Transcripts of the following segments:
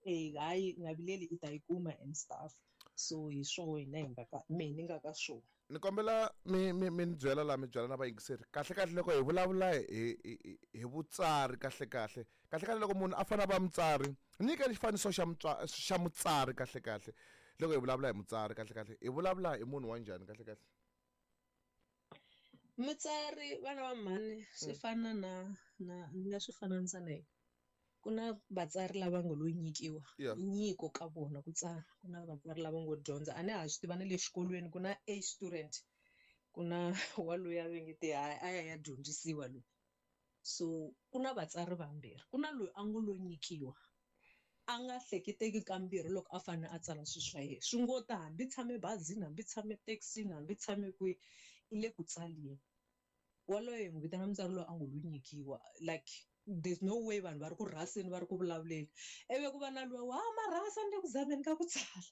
Eh hayi nga vileli i ta yi kuma and stuff. So hi swoho hina hi nga ka mehe ni nga ka swona. Ni kombela mi mi mi ni byela laha mi byela na vayingiseri kahle kahle loko hi vulavula hi hi hi vutsari kahle kahle kahle kahle loko munhu a fanele a va mutsari nyika xifaniso xa xa mutsari kahle kahle loko hi vulavula hi mutsari kahle kahle hi vulavula hi munhu wa njhani kahle kahle. Mutsari vana va mhani swi fana na na ni nga swi fananisa na yini ku na vatsari lava ngo lo nyikiwa nyiko ka vona ku tsala ku na vatsari lava ngo dyondza a ni ha swi tiva na le xikolweni ku na A student ku na wa luya va nge te hayi a ya ya dyondzisiwa loyi so ku na vatsari vambirhi ku na loyi a ngo lo nyikiwa a nga hleketeki kambirhi loko a fanele a tsala swilo swa yena swi ngo ta hambi tshame bazini hambi tshame thekisini hambi tshame kwihi i le ku tsaleni. Waloye hi n'wi vitana mutsari loyi a ngo lo nyikiwa like there's no way vanhu va ri ku rhaseni va ri ku vulavuleni ivi ku va na luwa wa marhasa ni le ku zameni ka ku tsala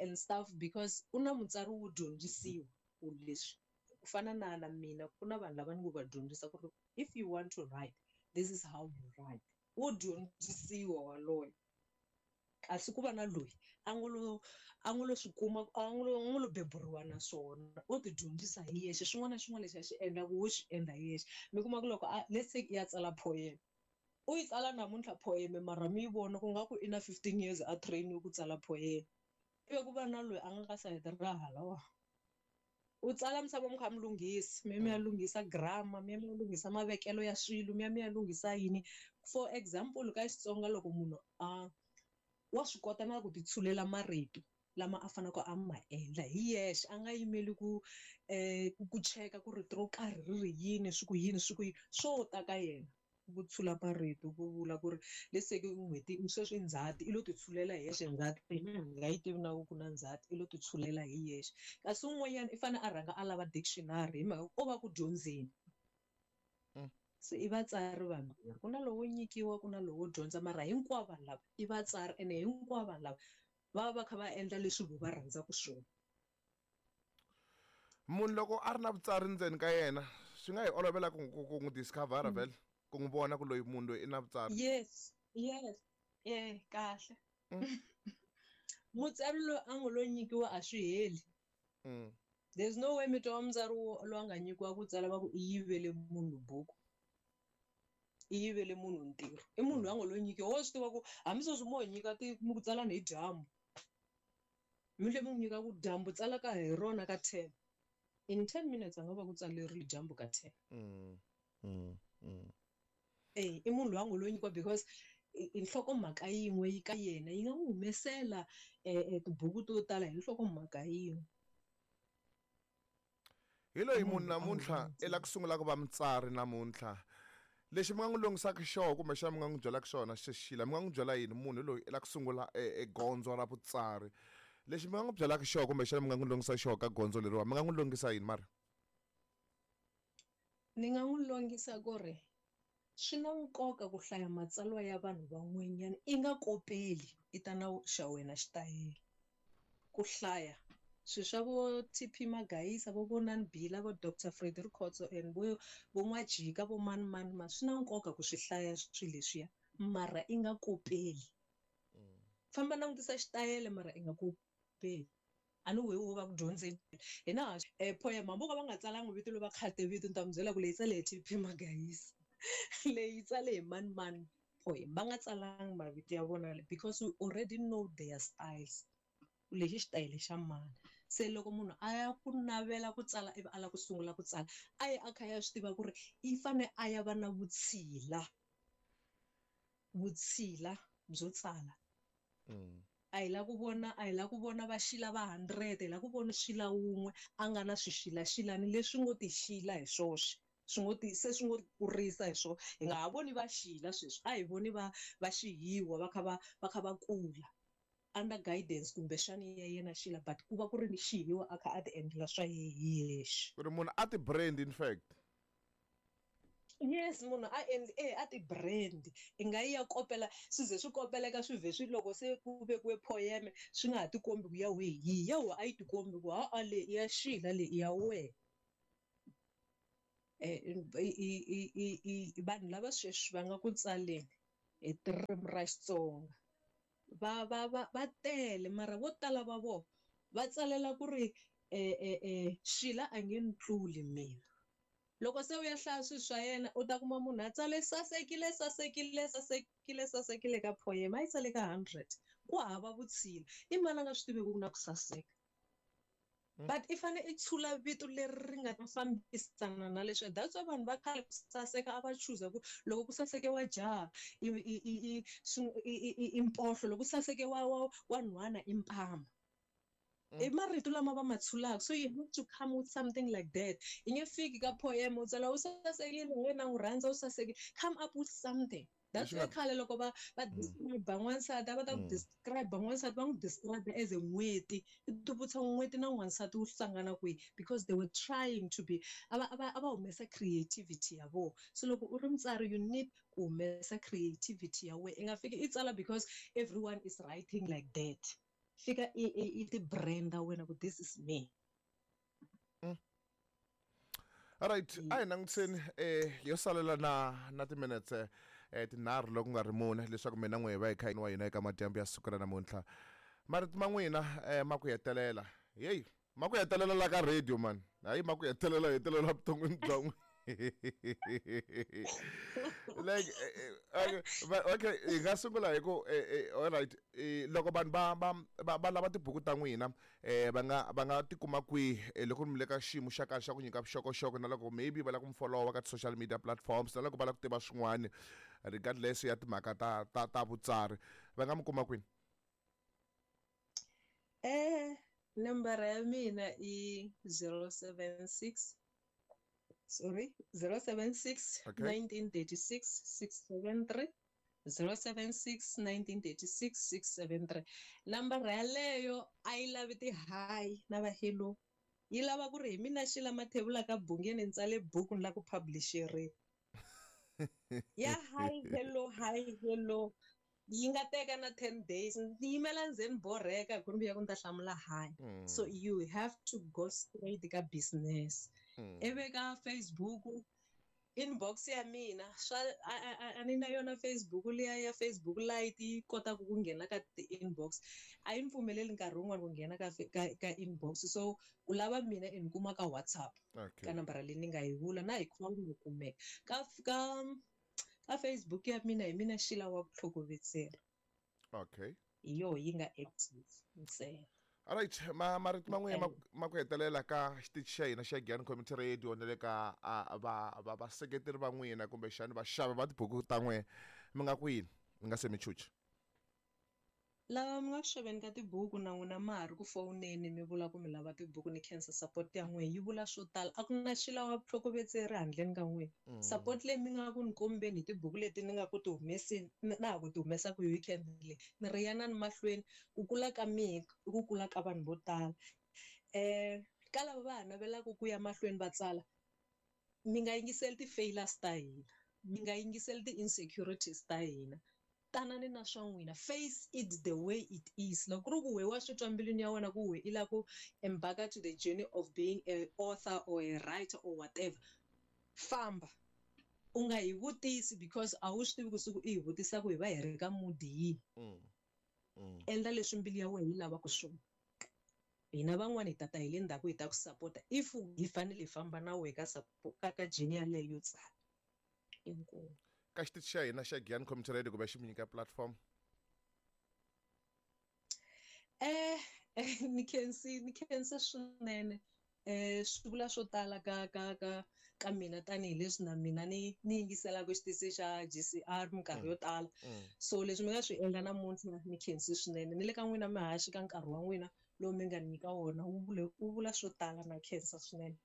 and stuff because ku na mutsari wo dyondzisiwa ku leswi ku fana na na mina ku na vanhu lava ni ngo va dyondzisa ku ri if you want to write this is how you write wo dyondzisiwa waloye. Kasi ku va na loyi a ngo lo a ngo lo swi kuma a ngo lo a ngo lo beburiwa na swona o ti dyondzisa hi yexe xin'wana na xin'wana lexi a xi endlaka wo xi endla hi yexe mi kuma ku loko a let's say i ya tsala poem u yi tsala namuntlha poem mara mi yi vona ku nga ku i na 15 years a train-iwe ku tsala poem ivi ku va na loyi a nga ka sayiti ra halawa. U tsala misava mi kha mi lunghisa mi ya mi ya lunghisa grammar mi ya mi ya lunghisa mavekelo ya swilo mi ya mi ya lunghisa yini for example ka Xitsonga loko munhu a wa swi kota na ku ti tshulela marito lama a faneleke a ma endla hi yexe a nga yimeli ku ku cheka ku rito ro karhi ri ri yini swi ku yini swi ku yini swo ta ka yena. Ku tshula marito ku vula ku ri let's say n'hweti sweswi i ndzhati i lo ti tshulela hi yexe ndzhati hina hi nga yi tivi na ku ku na ndzhati i lo ti tshulela hi yexe kasi un'wanyana i fanele a rhanga a lava dictionary hi mhaka o va ku dyondzeni se i vatsari vambirhi ku na lowo nyikiwa ku na lowo dyondza mara hinkwavo vanhu lava i vatsari ene hinkwavo vanhu lava va va va kha va endla leswi vo va rhandzaka swona. Munhu loko a ri na vutsari ndzeni ka yena swi nga hi olovela ku ku ku n'wi discover vhele ku n'wi vona ku loyi munhu loyi i na vutsari. Yes yes e kahle mutsari loyi a ngo lo nyikiwa a swi heli there's no way mi twa mutsari loyi a nga nyikiwa ku tsala va ku i yivele munhu buku i yivele munhu ntirho i munhu loyi a ngo lo nyikiwa wo swi tiva ku hambi sweswi mo hi nyika ti mi ku tsalani hi dyambu. Mi tlhe mi n'wi nyika ku dyambu tsala ka hi rona ka 10 in 10 minutes a nga va ku tsalerile dyambu ka 10. E i munhu loyi a ngo lo nyikiwa because i nhlokomhaka yin'we yi ka yena yi nga n'wi humesela tibuku to tala hi nhlokomhaka yin'we. Hi loyi munhu namuntlha i la ku sungula ku va mutsari namuntlha lexi mi nga n'wi longisaka xona kumbexana mi nga n'wi byelaka xona xexila mi nga n'wi byela yini munhu loyi i la ku sungula e gondzo ra vutsari lexi mi nga n'wi byelaka xona kumbexana mi nga n'wi longisa xona ka gondzo leriwa mi nga n'wi longisa yini mara. Ni nga n'wi longisa ku ri swi na nkoka ku hlaya matsalwa ya vanhu van'wanyana i nga kopeli i ta na xa wena xitayele ku hlaya swilo swa vo T_P Magaisa vo Vonani Bila vo Doctor Freddy Rikhotso and vo vo N'wajika vo mani mani mani swi na nkoka ku swi hlaya swilo leswiya mara i nga kopeli famba langutisa xitayele mara i nga kopeli. A ni wehe wo va ku dyondzeni hina ha poem hambi vo ka va nga tsalangi vito lo va khate vito ni ta mi byela ku leyi tsale hi T_P Magaisa leyi tsale hi mani mani poem va nga tsalangi mavito ya vona because we already know their styles ku lexi xitayele xa mani se loko munhu a ya ku navela ku tsala ivi a lava ku sungula ku tsala a yi a kha ya swi tiva ku ri i fane a ya va na vutshila vutshila byo tsala. A hi lava ku vona a hi lava ku vona va xila va 100 hi lava ku vona xila wun'we a nga na swixilaxilani leswi ngo ti xila hi swoxe swi ngo ti se swi ngo kurisa hi swona hi nga ha voni va xila sweswi a hi voni va va xihiwa va kha va va kha va kula under guidance kumbexani ya yena xila but ku va ku ri ni xihiwa a kha a ti endlela swa yehe hi yexe. Ku ri munhu a ti brand in fact. Yes munhu a endli e a ti brand i nga yi ya kopela swi ze swi kopeleka swi vhe swi loko se ku vekiwe poem swi nga ha tikombi ku ya wehe hi yihi ya wehe a yi tikombi ku ha-a leyi i ya Sheila leyi i ya wehe i vanhu lava sweswi va nga ku tsaleni. hi ririmi ra Xitsonga. Va tele mara vo tala va vona va tsalela ku ri Sheila a nge ni tluli mina. Loko se u ya hlaya swilo swa yena u ta kuma munhu a tsale sasekile sasekile sasekile sasekile ka poem a yi tsale ka 100 ku hava vutshila i mani a nga swi tiveki ku na ku saseka. But i fane i tshula vito leri ri nga ta fambisana na leswi. That's why vanhu va khale ku saseka a va chuza ku loko ku saseke wa jaha i mpohlo, loko ku saseke wa nhwana i mpama. I marito lama va ma tshulaka. So you have to come with something like that. I nge fiki ka poem u tsala u sasekile wena n'wi rhandza u sasekile. Come up with something. That's why khale loko va describe n'wansati a va ta ku describe n'wansati va n'wi describe as a n'weti. I tivutisa n'weti na n'wansati wu hlangana kwihi because they were trying to be a va humesa creativity ya vona. So loko u ri mutsari you need ku humesa creativity ya wena. I nga fiki i tsala because everyone is writing like that. Fika i ti branda wena ku this is me. All right, a hi langutiseni yo salela na ti-minutes tinharhu loko nga ri mune leswaku mina n'we hi va hi kha wa hina eka madyambu ya siku ra namuntlha. Marito ma n'wina ma ku hetelela. Hey, ma ku hetelela la ka radio man. Hayi ma ku hetelela hetelela vuton'wini bya n'wina. Like okay, hi nga sungula hi ku all right, loko vanhu va lava tibuku ta n'wina va nga tikuma kwihi loko mi le ka xiyimo xa kahle xa ku nyika vuxokoxoko na loko maybe va lava ku mi followa ka social media platforms na loko va lava ku tiva swin'wana regardless ya timhaka ta vutsari va nga mi kuma kwini? Nambara ya mina i 076 sorry 076 1936 673 076 1936 673. Nambara yaleyo a yi lavi ti-hi na va hello, yi lava ku ri hi mina Sheila Mathebula ka Bungeni ni tsale buku ni la ku publisheriwa. Ya hi hello hi hello yi nga teka na 10 days ni yimela ndzeni ni borheka hi ku ni vuya ku ni ta hlamula hi. So you have to go straight ka business. Ivi ka Facebook inbox ya mina swa a ni na yona Facebook liya ya Facebook Lite yi kotaka ku nghena ka ti-inbox. A yi ni pfumeleli nkarhi wun'wani ku nghena ka inbox. So ku lava mina i ni kuma ka WhatsApp ka nambara leyi ni nga yi vula na hi call ni kumeka. Ka Facebook ya mina hi mina Sheila wa vutlhokovetseri. Okay. Hi yoho yi nga active ntsena. All right, marito man'we ma ku hetelela ka xitichi xa hina xa Giyani Community Radio na le ka vaseketeri va n'wina kumbexani vaxavi va tibuku ta n'wina mi nga ku yini mi nga se mi chucha? Lava mi nga ku xaveni ka tibuku na n'wina ma ha ri ku fowuneni mi vula ku mi lava tibuku ni khensa support ya n'wina yi vula swo tala. A ku na Sheila wa vutlhokovetseri handleni ka n'wina. Support leyi mi nga ku ni kombeni hi tibuku leti ni nga ku ti humeseni na ha ku ti humesaka hi weekend leyi ni ri yanani mahlweni ku kula ka mina i ku kula ka vanhu vo tala. Ka lava va ha navelaka ku ya mahlweni va tsala mi nga yingiseli ti-failures ta hina, mi nga yingiseli ti-insecurities ta hina. Tanani na swa n'wina, face it the way it is. Loko ku ri ku we wa swi twa mbilwini ya wena ku we i lava ku embark to the journey of being a author or a writer or whatever, famba. U nga hi vutisi because a wu swi tivi ku siku i hi vutisa ku hi va hi ri ka mood yihi. Endla leswi mbilu ya wena yi lavaka swona. Hina van'wani hi tata hi le ndzhaku hi ta ku support-a if hi fanele hi famba na wehe ka support ka journey yaleyo yo tsala. Inkomu. Ka xitichi xa hina xa Giyani Community Radio kumbe xi mi nyika platform? Ni khensa swinene. Swi vula swo tala ka mina tanihileswi na mina ni yingiselaka xitichi xa GCR minkarhi yo tala. So leswi mi nga swi endla namuntlha ni khensi swinene. Ni le ka n'wina mihaxi ka nkarhi wa n'wina lowu mi nga nyika wona wu vula swo tala na khensa swinene.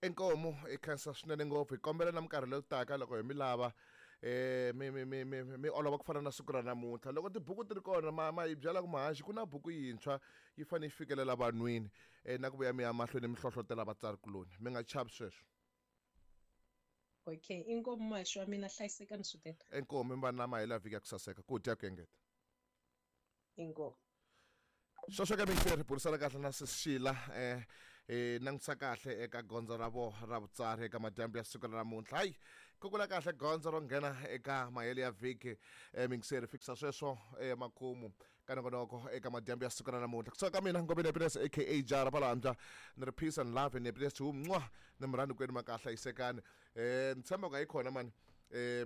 Inkomu i khensa swinene ngopfu. Hi kombela na minkarhi leyi taka loko hi mi lava mi olova ku fana na siku ra namuntlha. Loko tibuku ti ri kona ma hi byela ku mahaxi ku na buku yintshwa yi fanele yi fikelela vanhwini na ku vuya mi ya mahlweni mi hlohlotela vatsarikuloni. Mi nga chavi sweswo. Okay, inkomu mahaxi wa mina, hlayisekani swinene. Inkomu mi va na mahela vhiki ya ku saseka ku dya ku engeta. Inkomu. Sweswo ka mintirho burisana kahle na Sheila langutisa kahle eka gondzo ra vo ra vutsari eka madyambu ya siku ra namuntlha. Hayi Kukula kahle gondzo ro nghena eka mahelo ya vhiki mingiseri fikisa sweswo makumu ka nongonoko eka madyambu ya siku ra namuntlha. Kusuka ka mina Ngobeni Happiness aka Jara Palambya ni ri peace and love and happiness to mwa ni murhandi kwenu makahla hlayisekani. Ni tshemba ku a yi kona mani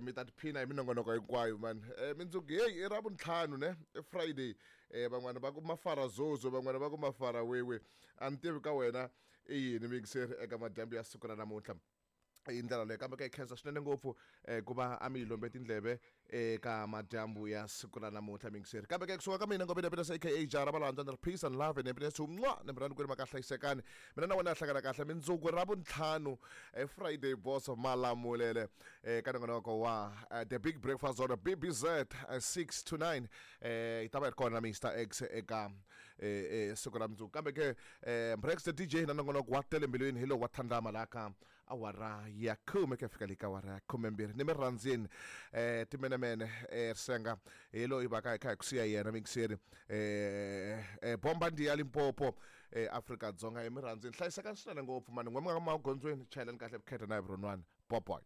mi ta tiphina hi minongonoko hinkwayo mani. Mindzuku heyi i ra vuntlhanu ne i Friday. Van'wana va ku mafara zozo van'wana va ku mafara wewe a ni tivi ka wena i yini mingiseri eka madyambu ya siku ra namuntlha. Hi ndlela leyo kambe ka yi khensa swinene ngopfu ku va a mi yi lombe tindleve eka madyambu ya siku ra namuntlha mingiseri. Kambe ke kusuka ka mina Ngobeni Happiness aka Jara Valambya ni ri peace and love and happiness to mwa ni murhandi kwenu maka hlayisekani. Mina na wena hi hlangana kahle mindzuku ra vuntlhanu Friday boss malamulele ka nongonoko wa The Big Breakfast on BBZ 6 to 9 yi ta va yi ri kona Mr X eka siku ra mundzuku. Kambe ke Brex the DJ na nongonoko wa tele mbilwini hi lowu wa thandama laha ka awara ya khume ku ya fika le ka awara ya khumembirhi. Ni mi rhandzini timenemene risenga hi loyi va ka hi kha hi ku siya yena mingiseri bomba ndi ya Limpopo Afrika-Dzonga hi mi rhandzini. Hlayisekani swinene ngopfu mani n'we mi nga magondzweni chayelani kahle vukheta na hi vurhonwana. Boboy.